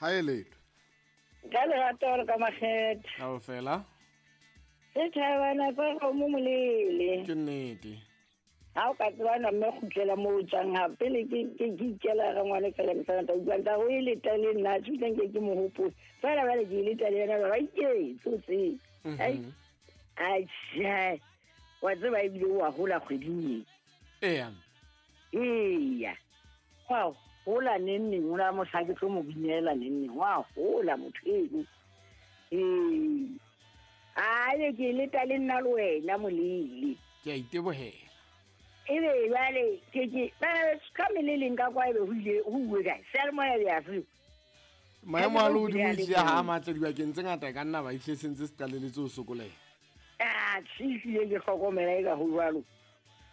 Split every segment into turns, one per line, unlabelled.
Ha e letho.
Ka lerato le ka makgethe.
Kaofela.
Setjhabana sa kgomo molele.
Ke nnete.
Ha o ka tsebana mme kgutlela moo o tswang ha pele ke ke ke ikela ga ngwane fela ke tsana utlwa nta o e leta le nna se utlwang ke ke mo hopole fela bale ke e leta le yena ba iketse o tsebe. Ai ai tjhe. Wa tseba ebile o a hola kgweding e.
Eya.
Eya. Wa hola neng neng o la mohla ke tlo mo binela neng neng wa hola motho eno. Ee. Aye ke leta le nna le wena molele.
Ke a itebohela.
Ebe jwale ke ke ba ka meleleng ka kwa ebe ho ile ho uwe kae seyalemoya be a se.
Maemo a lehodimo ehlile ha a matle dibakeng tse ngata e ka nna ba ehlile se ntse se qaleletse ho sokoleha.
Ah, tjhe, ehlile ke hlokomela e ka ho jwalo.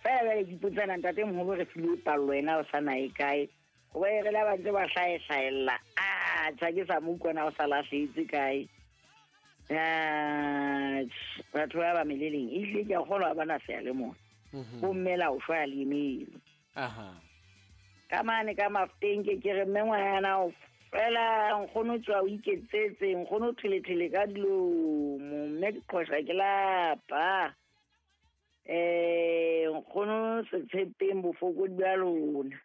Fela jwale ke ipotsana ntate moholo re filwe pallo ena o sa na e kae. Hoba e re la ba ntse ba hlaehlaella. Ah, tjha ke sa mo utlwa na o sa lahlehetse kae. Ah, batho ba ba meleleng ehlile ke a kgolwa ba na seyalemoya. Bomme la o shwa le emele.
Aha.
Ka mane ka mafuteng ke ke re mme ngwana o fela nkgono tswa o iketsetse nkgono thelethele ka dilomo mme ke qhosha ke lapa. Nkgono se tshepeng bofokodi ba lona.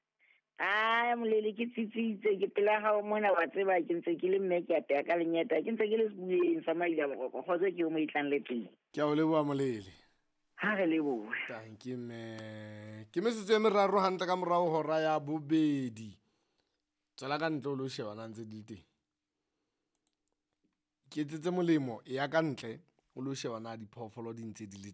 Ai molele ke tsitsitse ke pela hao mona wa tseba ke ntse ke le mme ke apeya ka lenyeta ke ntse ke le sebueng sa maila boroko kgotso ke o mo itlang le teng.
Ke a o leboha molele.
Ha re lebohe.
Thank you mme. Ke metsotso e meraro hantle ka morao hora ya bobedi. Tswela ka ntle o lo sheba na ntse di le teng. Ke etsetse molemo ya ka ntle o lo sheba na diphoofolo di ntse di le